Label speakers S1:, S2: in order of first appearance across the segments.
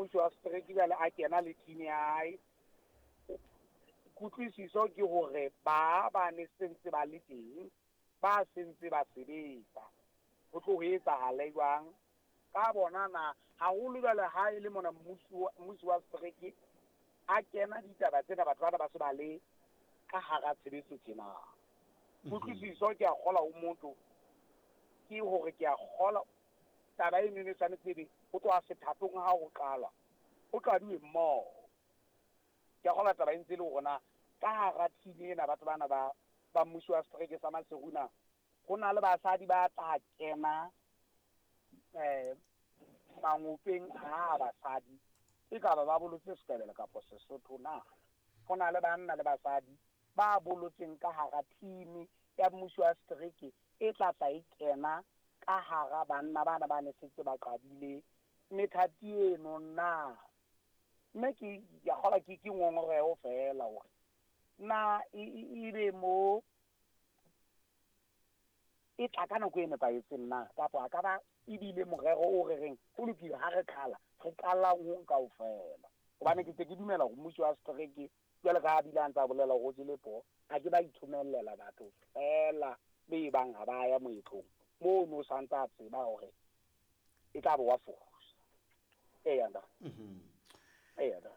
S1: Mmusi wa setereke jwale a kena le team ya hae, kutlwisiso ke hore ba ba ne sentse ba le teng, ba sentse ba sebetsa. Ho tlo ho etsahale jwang ka bona na? Haholo jwale ha e le mona mmusi wa setereke a kena ditaba tsena, batho bana ba se ba le ka hara tshebetso tjena. Kutlwisiso ke a kgola ho motho ke hore ke a kgola taba eno e tshwanetse ebe ho tloha sethatong ha ho qalwa, ho qaduwe mmoho. Ke a kgola taba e ntse e le hore na ka hara team ena batho bana ba mmusi wa setereke sa Maseru na ho na le basadi ba tla kena mangopeng a basadi, e ka ba ba bolotse Setebele kapa Sesotho na? Ho na le banna le basadi ba bolotseng ka hara team ya mmusi wa setereke e tla tla e kena ka hara banna bana ba ne setse ba qadile methati eno na? Mme ke ya kgola ke ngongoreho fela hore na e be mo e tla ka nako e nepahetseng na, kapa a ka ba ebile morero o re reng ho lokile ha re qala, re qalang ho kaofela. Hobane ke ntse ke dumela hore mmusi wa setereke jwale ka ha bile a ntse a bolela hore o jele poho, a ke ba ithomellela batho fela be bang ha ba ya moetlong mono, o santse a tseba hore e tla bo wa fosa. Eya nda. Eya nda.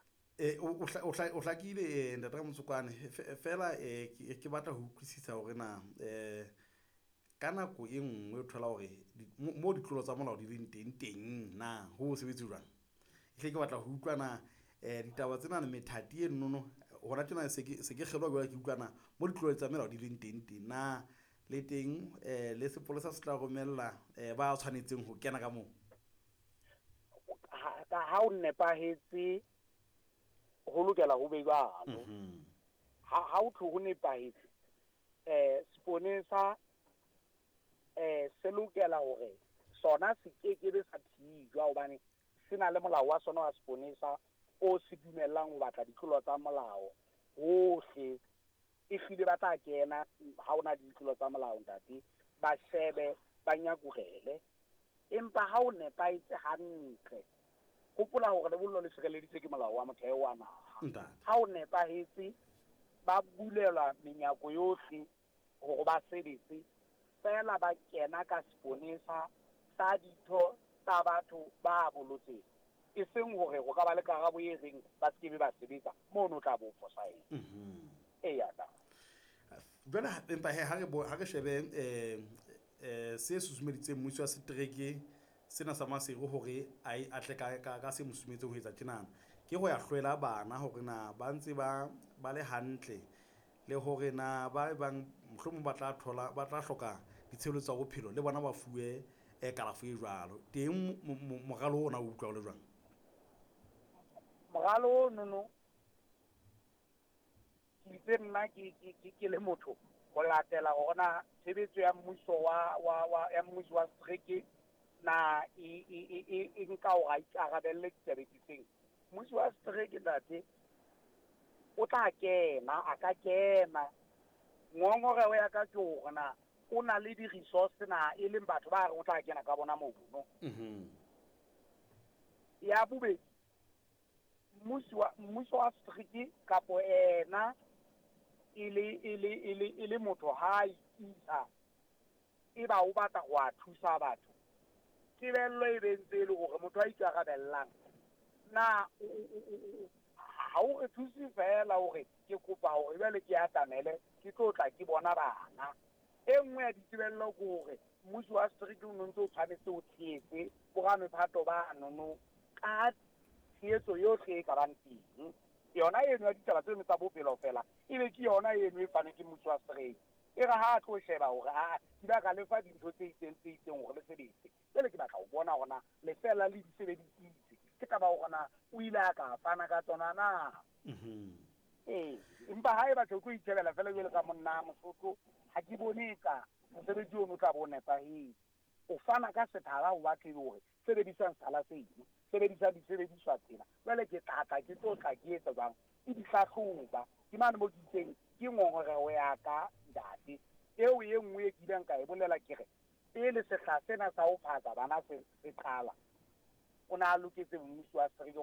S2: O hlakile, ntate Ramotsokwane. Fela ke batla ho utlwisisa hore na ka nako e nngwe o thola hore mo ditlolo tsa molao di leng teng teng na ho sebetse jwang? Ehlile ke batla ho utlwa na ditaba tsena le methati e nono hona tjena se ke kgelwa jwale, ke utlwa na mo ditlolo tsa melao di leng teng teng na le teng le sepolesa se tla romella ba tshwanetseng ho kena ka moo?
S1: Ha o nepahetse ho lokela ho be jwalo. Ha o thwe ho nepahetse, seponesa se lokela hore sona se kekebe sa thijwa, hobane se na le molao wa sona wa seponesa o se dumellang ho batla ditlolo tsa molao hohle. Ehlile ba tla kena ha ona ditlolo tsa molao ntate, ba shebe, ba nyakurele. Empa ha o nepahetse hantle, hopola hore lebollo le sireleditswe ke molao wa motheo wa naha. Ha o nepahetse, ba bulelwa menyako yohle hore ba sebetse, fela ba kena ka seponesa sa ditho tsa batho ba bolotseng. E seng hore ho ka ba le karabo e reng ba se kebe ba sebetsa, mono tla bo fosahetse. Eya da.
S2: Jwale empa he ha re shebe se susumeditseng mmusi wa setereke sena sa Maseru hore a tle ka se mo susumetseng ho etsa tjenana, ke ho ya hlwela bana hore na ba ntse ba le hantle, le hore na ba bang mohlomong ba tla thola, ba tla hloka ditshebeletso tsa bophelo le bona ba fuwe kalafo e jwalo. Teng moralo ona o utlwa o le jwang?
S1: Moralo ono ke itse nna ke le motho ho latela hore na tshebetso ya mmuso ya mmuso wa setereke na e nka hore a ikarabelle ditabeng difeng. Mmuso wa setereke ntate o tla kena, a ka kena. Ngongoreho ya ka ke hore na o na le di-resource na, e leng batho ba reng o tla kena ka bona mono. Ya bobedi, mmuso wa setereke kapo ena e le motho ha ikisa, e ba o batla ho a thusa batho, tebello e be ntse e le hore motho a ikarabellang na ha o re thuse fela hore ke kopa hore jwale ke atamele ke tlo tla ke bona bana. E nngwe ya ditebello ke hore mmuso wa setereke o ntse o tshwanetse o tshehetse boramephato ba nono ka tshehetso yohle e ka bang teng. Yona eno ya ditaba tseno tsa bophelo fela ebe ke yona eno e fanweng ke mmuso wa setereke. E re ha a tlo sheba hore a ke ba ka lefa dintho tse itseng tse itseng hore le sebetse, jwale ke batla ho bona hore na lefela le di sebedisitse, ke taba hore na o ile a ka fana ka tsona na. Empa ha e batho o tlo itjhebela fela jwale ka monna Mosotho, ha ke bone ka mosebetsi ono o tla bo nepahetse. O fana ka sethala ho batho e le hore sebedisang sethala seno, sebedisang disebediswa tsena. Jwale ke tla tla ke tlo tla ke etsa jwang? Ke di hlahloba. Ke mane mo ke itseng ke ngongoreho ya ka ntate. Eo e nngwe e kileng ka e bolela ke re pele sehla sena sa ho phatsa bana se qala, o na loketse mmuso wa setereke hore